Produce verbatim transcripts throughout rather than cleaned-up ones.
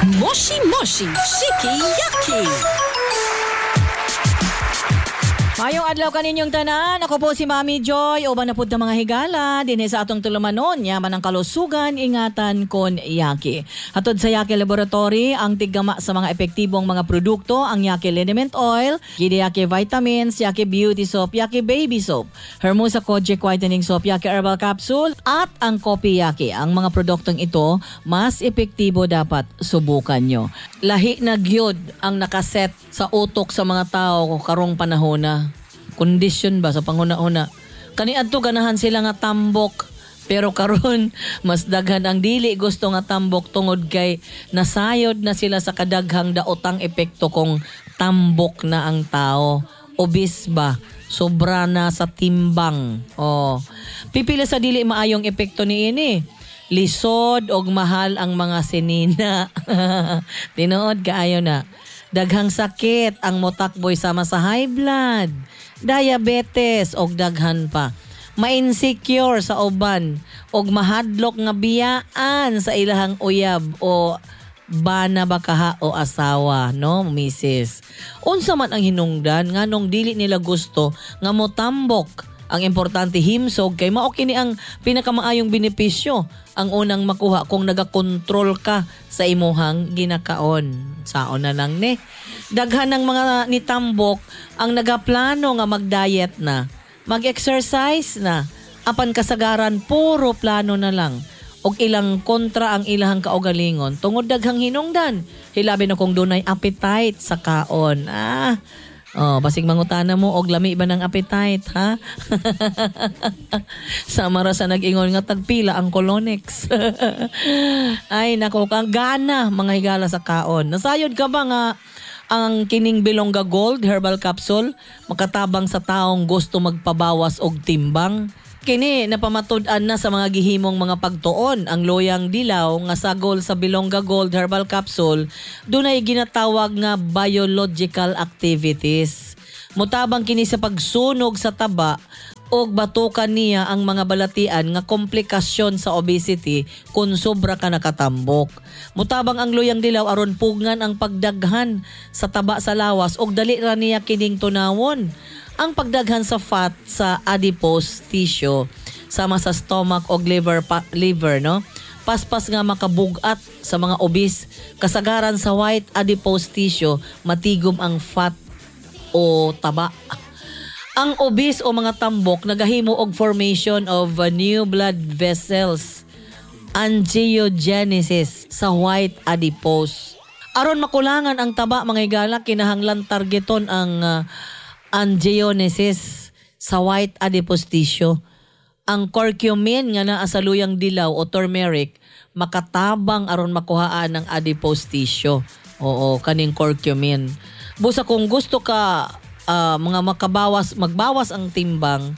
Moshi Moshi Shiki Yaki. Mayong adlaw kaninyong tanan. Ako po si Mami Joy. Uban na pud ta, mga higala dinhi sa atong tulumanon. Yaman ang kalusugan, ingatan kon Yaki. Hatod sa Yaki Laboratory, ang tiggama sa mga epektibong mga produkto, ang Yaki Liniment Oil, Gidi Yaki Vitamins, Yaki Beauty Soap, Yaki Baby Soap, Hermosa Kojic Whitening Soap, Yaki Herbal Capsule, at ang Kopi Yaki. Ang mga produktong ito, mas epektibo, dapat subukan nyo. Lahi na gyud ang nakaset sa utok sa mga tao karong panahon na kondisyon ba sa panguna-una. Kaniadto ganahan sila nga tambok, pero karon mas daghan ang dili gusto nga tambok tungod kay nasayod na sila sa kadaghang daotang epekto kung tambok na ang tao. Obese ba? Sobra na sa timbang. Oh. Pipila sa dili maayong epekto niini. Lisod og mahal ang mga sinina. Tinuod kaayo na. Daghang sakit ang motakboy sama sa high blood, diabetes og daghan pa. Ma-insecure sa uban og mahadlok nga biyaan sa ilahang uyab o bana ba kaha o asawa, no, misis. Unsa man ang hinungdan nganong dili nila gusto nga motambok? Ang importante, himsog, kay mao kini ang pinakamaayong benepisyo ang unang makuha kung nagakontrol ka sa imuhang ginakaon. Saon na lang ni. Daghan ng mga nitambok ang nagaplano nga mag-diet na, mag-exercise na, apan kasagaran puro plano na lang og ilang kontra ang ilahang kaugalingon tungod daghang hinungdan, hilabi na kung dunay appetite sa kaon. Ah, oh, basig mangutana mo og lami ba ng appetite, ha? Sama ra sa nag-ingon nga tagpila ang Colonex. Ay nako, kang gana, mga higala, sa kaon. Nasayod ka ba nga ang kining Bilongga Gold Herbal Capsule makatabang sa taong gusto magpabawas og timbang? Kini napamatud-an na sa mga gihimong mga pagtuon. Ang loyang dilaw nga sagol sa Bilongga Gold Herbal Capsule dunay ginatawag nga biological activities. Mutabang kini sa pagsunog sa taba og batukan niya ang mga balatian nga komplikasyon sa obesity kung sobra ka nakatambok. Mutabang ang luyang dilaw aron pugngan ang pagdaghan sa taba sa lawas og dali ra niya kining tunawon ang pagdaghan sa fat sa adipose tissue sama sa stomach o liver pa, liver no. Paspas nga makabugat sa mga obese, kasagaran sa white adipose tissue matigom ang fat o taba. Ang obese o mga tambok nagahimo og formation of uh, new blood vessels, angiogenesis sa white adipose. Aron makulangan ang taba, mga higala, kinahanglan targeton ang uh, angiogenesis sa white adipose tissue. Ang curcumin nga naa sa luyang dilaw o turmeric makatabang aron makuhaan ang adipose tissue. Oo, kaning curcumin. Busa kung gusto ka ah, mga makabawas, magbawas ang timbang,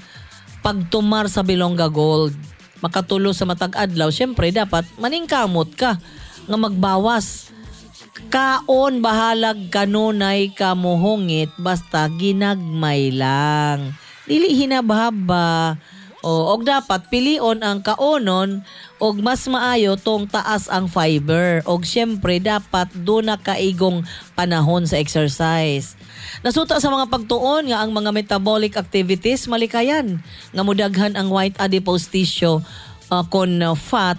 pagtumar sa Bilongga Gold, makatulo sa matag adlaw, syempre dapat maningkamot ka nga magbawas. Kaon bahalag kanunay kamuhungit, basta ginagmay lang. Dili hinabhaba. O, og dapat pilion ang kaonon og mas maayo tong taas ang fiber. Og syempre dapat duna kaigong panahon sa exercise. Nasuta sa mga pagtuon nga ang mga metabolic activities malikayan nga mudaghan ang white adipose tissue uh, kon uh, fat.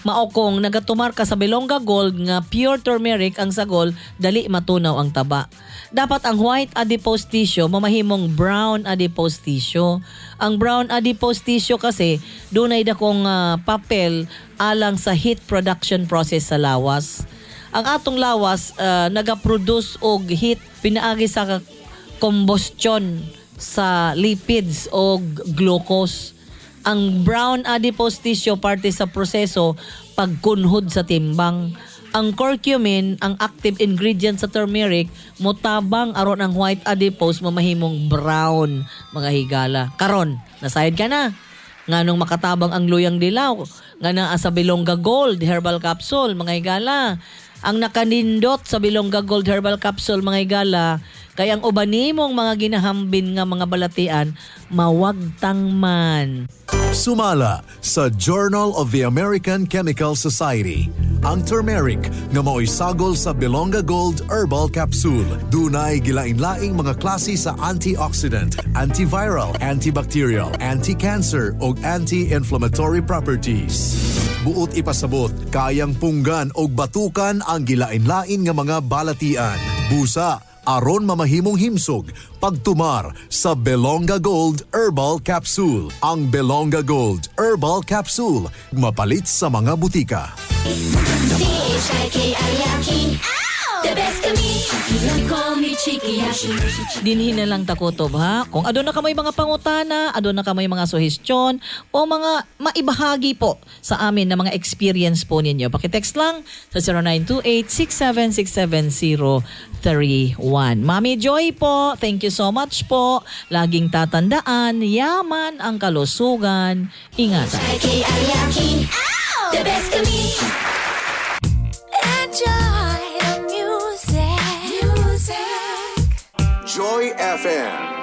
Mao kung nagatumar ka sa Bilongga Gold nga pure turmeric ang sagol, dali matunaw ang taba. Dapat ang white adipose tissue mamahimong brown adipose tissue. Ang brown adipose tissue kasi dunay dakong ah, papel alang sa heat production process sa lawas. Ang atong lawas ah, nagaproduce og heat pinaagi sa combustion sa lipids o glucose. Ang brown adipose tissue parte sa proseso pagkunhod sa timbang. Ang curcumin, ang active ingredient sa turmeric, motabang aron ang white adipose mamahimong brown, mga higala. Karon, nasayod ka na nganong makatabang ang luyang dilaw nga naa sa Bilongga Gold Herbal Capsule, mga higala. Ang nakanindot sa Bilongga Gold Herbal Capsule, mga higala, kay ang uban nimong mga ginahambin nga mga balatian mawagtang man. Sumala sa Journal of the American Chemical Society. Ang turmeric nga mao'y sagol sa Belonga Gold Herbal Capsule. Dunay gilain-laing mga klase sa antioxidant, antiviral, antibacterial, anti-cancer ug anti-inflammatory properties. Buot ipasabot, kayang punggan og batukan ang gilain-lain nga mga balatian. Busa, aron mamahimong himsog pagtumar sa Belonga Gold Herbal Capsule. Ang Belonga Gold Herbal Capsule mapalit sa mga butika. C H I K I Y A K I. The best kami. Call me Chikiyashi. Dinhi na lang ta kutob, ha. Kung aduna kamoy mga pangutana, aduna kamoy mga suhestyon o mga maibahagi po sa amin na mga experience po ninyo, paki-text lang sa zero nine two eight, six seven six seven zero three one. Mami Joy po, thank you so much po. Laging tatandaan, yaman ang kalusugan. Ingatan. C H I K I Y A K I. The best kami. Enjoy the music. Music. Joy F M.